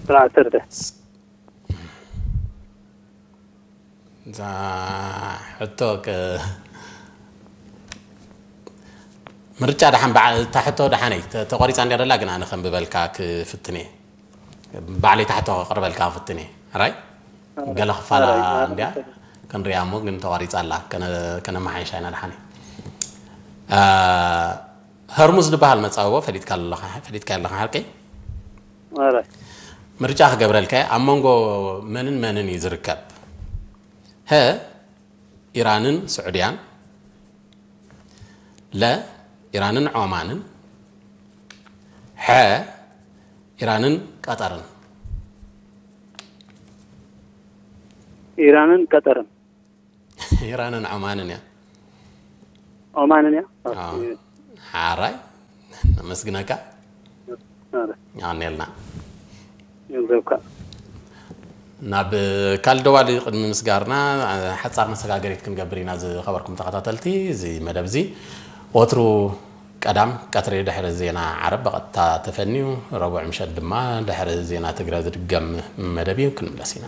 ስርዓት ሰርተ። እዛ ሕቶ ክ- ምርጫ ደሓን በዓ- እታ ሕቶ ደሓነይ ተ- ተቋሪፃ እንዲያ ደላ፣ ግን ኣነ ከም ብበልካ ክፍትን እየ። ባዕለይ እታ ሕቶ ከቅርበልካ ክፍትን እየ። ራይ ገለ ክፋላ ኣራይ፣ ኣራይ። እንዲያ ክንሪኣ እሞ፣ ግን ተቋሪፃ ኣላ። ከነ- ከነመሓይሻ ኢና ደሓነይ። አ፣ ሀርሙዝ ዝበሃል መፃብቦ ፈሊጥካ ኣለኻ፣ ፈሊጥካ ኣለኻ ሓቀይ? ኣራይ። ምርጫ ክገብረልካ እየ። ኣብ መንጎ መንን መንን እዩ ዝርከብ? ሀ፣ ኢራንን ስዑድያን፣ ለ፣ ኢራንን ዖማንን፣ ሐ፣ ኢራንን ቀጠርን። ኢራንን ቀጠርን። ኢራንን ዖማንን እያ። ኦማንን እያ። ኣዎ። ሓራይ፣ ነመስግነካ። ኣረ፣ ኣኔልና። ገንዘብካ። ናብ ካልእ ደዋሊ ቅድሚ ምስጋርና ሓጻር መሰጋገሪት ክንገብር ኢና። ዝኸበርኩም ተኸታተልቲ እዚ መደብ እዚ ወትሩ ቀዳም ቀትሪ ድሕሪ ዜና ዓረብ ብቐጥታ ተፈንዩ፣ ረቡዕ ምሸት ድማ ድሕሪ ዜና ትግረ ዝድገም መደብ እዩ። ክንምለስ ኢና።